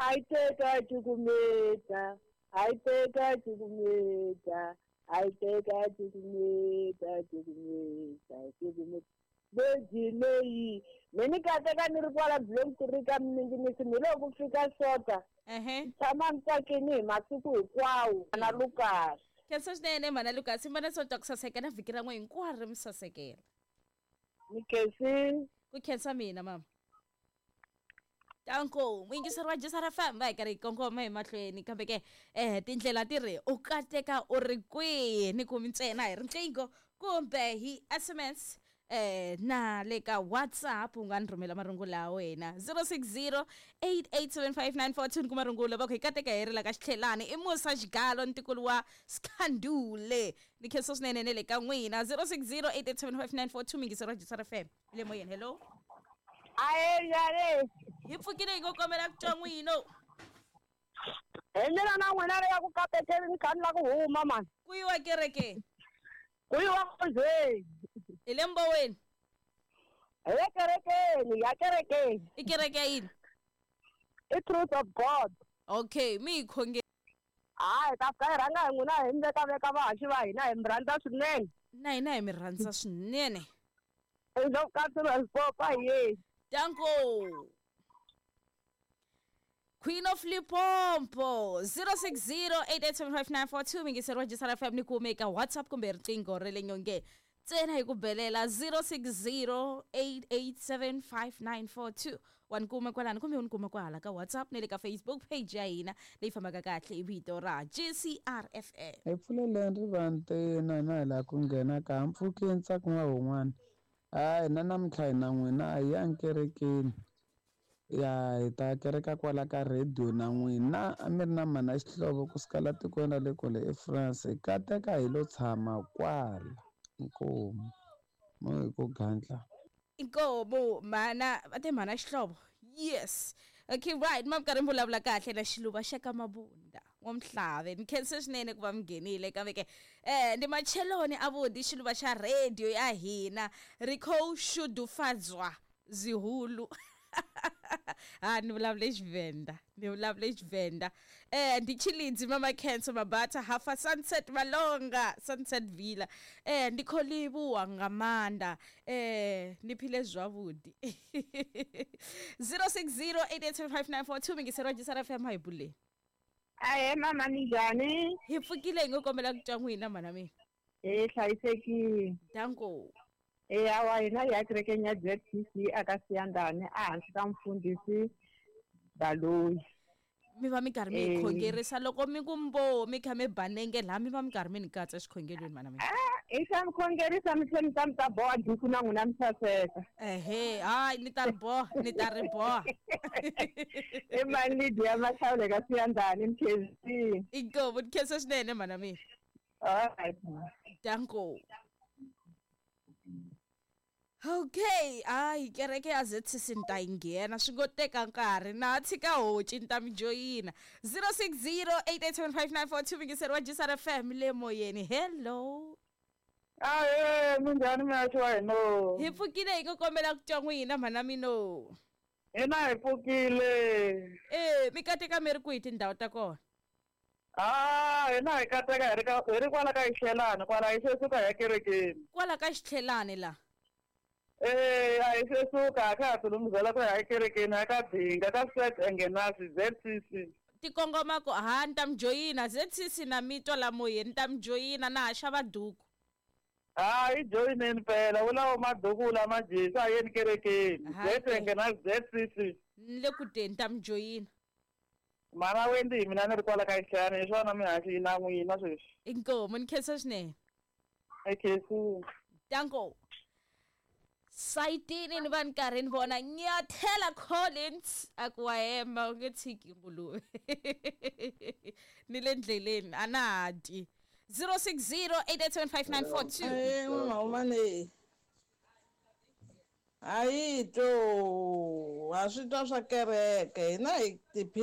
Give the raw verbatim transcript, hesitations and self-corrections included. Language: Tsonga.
A yi teka cukumeta, a yi teka cukumeta, a yi teka cukumeta, cukumeta, cukumeta. Beji leyi me ni kateka ni ri kwala Bloemfontein ka Minginisi ni loko ku fika Sota. Ehe. Tshama ni tsakini hi masiku hinkwawo na Lucas. Khensa swinene mhana Lucas, mi vona Sonto ku saseka na vhiki ra n'we hinkwaro mi sasekela. Ni khensile. Ku khensa mina mama. Tanko, muyingiseri wa G C R F M va hi karhi hi kongoma hi mahlweni kambe ke eh tindlela ti ri u kateka u ri kwihi ni kumi ntsena hi riqingho kumbe hi S M S eh na le ka WhatsApp u nga ni rhumela marungulo ya wena zero six zero eight eight seven five nine four two ni kuma rungula va ku hi kateka hi ri la ka Xitlhelani i Musa Xigalo ntikulu wa Skhandule ni khensa swinene ne le ka n'wina zero six zero eight eight seven five nine four two muyingiseri wa G C R F M le moyeni. Hello. Aye njhani? Hi pfukile hi ngo kombela ku twa n'wino. Hi mina na n'wina le ya ku katekeni ni kha ni la ku huma mani. Ku yiwa kerekeni? Ku yiwa nkonzweni. Hi le Mboweni? Hi le kerekeni, ya kerekeni. I kereke ya yini? I Truth of God. Okay, mi hi khonge. Hayi, ta fika hi rhanga hi n'wina hi mi veka veka vahaxi va hina hi mi rhandza swinene. Na hina hi mi rhandza swinene. Danko. Queen of Limpopo zero six zero eight eight seven five nine four two mingiseri wa G C R F M ni kume eka WhatsApp kumbe riqingho ra le nyongeni ntsena hi ku belela zero six zero eight eight seven five nine four two wa ni kuma kwalano kumbe u ni kuma kwahala ka WhatsApp ni le ka Facebook page ya hina leyi fambaka kahle hi vito ra G C R F M. Hi pfuleleni rivanti na hina hi laha ku nghena ka mpfhuki ntsako wa wun'wana. Hayi na namuntlha hina n'wina a hi yangi kerekeni. Ya hi ta kereka kwala ka radio na n'wina a mi ri na mhana Xihlovo kusuka la tikweni ra le kule eFrance hi kateka hi lo tshama kwala. Inkomu mo hi ku gandla. Inkomu mhana va te mhana Xihlovo. Yes. Okay, right. Ma mi karhi mi vulavula kahle na Xiluva xa ka Mabunda wa Mhlave. Ni khensa swinene ku va mi nghenile kambe ke eh ndi macheloni avuti Xiluva xa radio ya hina ri kho shudufadzwa zihulu. Ha ni vulavule Xivenda, ni vulavule Xivenda. Eh ndi Chilidzi mama Khensa Mabata hafa Sunset Malonga Sunset Villa. Eh ndi kholivuwa nga maanḓa. Eh ni phile zwavhuḓi. zero six zero eight eight seven five nine four two mingiseri wa G C R F M hi bule. Ahe mama ni njhani? Hi pfukile hi ngo kombela ku twa n'wina mhana mina. Eh hlayisekile. Danko. Eh awa hina hi ya kerekeni ya Z C C aka Siyandhani ehansi ka mfundhisi Baloyi. Mi va mi karhi mi hi khongerisa loko mi ku mbo mi kha mi banenge laha mi va mi karhi mi ni katsa xikhongelweni mhana mina. Ah, i xa mi khongerisa mi tlhela mi ta mi ta boha duku na n'wina mi saseka. Ehe, hayi ni ta ri boha, ni ta ri boha. I mani Lydia Mahlawule ka Siyandhani ni khensile. Inkomu ni khensa swinene mhana mina. Alright. Danko. Okay, hayi kereke ya Z C C ni ta yi nghena swi ngo teka nkarhi na tshika honci ni ta mi joyina zero six zero eight eight seven five nine four two mingiseri wa G C R F M le moyeni. Hello. Ahe minjhani mihaxi wa hina? Hi pfukile hi ku kombela ku twa n'wina mhana mino. Hina hi pfukile. Eh mi kateka mi ri kwihi tindhawu ta kona? Ah, hina hi kateka hi ri ka hi ri kwala ka Xitlhelani kwala hi se suka hi ya kerekeni. Kwala ka Xitlhelani la? Eh, a hi se suka a kha ha tilunghisela ku ya ekerekeni a ka Dinga ka Set Engenasi Z C C. Ti kongoma ku ha ni ta mi joyina Z C C na mi twa la moyeni ni ta mi joyina na ha xava duku. Ha hi joyineni phela wu lawo maduku lama jesi a yeni kerekeni Z Engenasi Z C C. Ni le ku teni ni ta mi joyina. Mara Wendy hi mina ni ri kwala ka Xitlhelani hi swona mihaxi yi na n'wina sweswi. Inkomu ni khensa swinene. I khensile. Danko. Sayitini ni va ni karhi ni vona Nyathela Collins a ku wa hemba u nge tshiki nguluve. Ni le ndleleni a na ha dyi. zero six zero eight eight seven five nine four two. Eh mama Hayi to, a swi twa swa kereke hina hi ti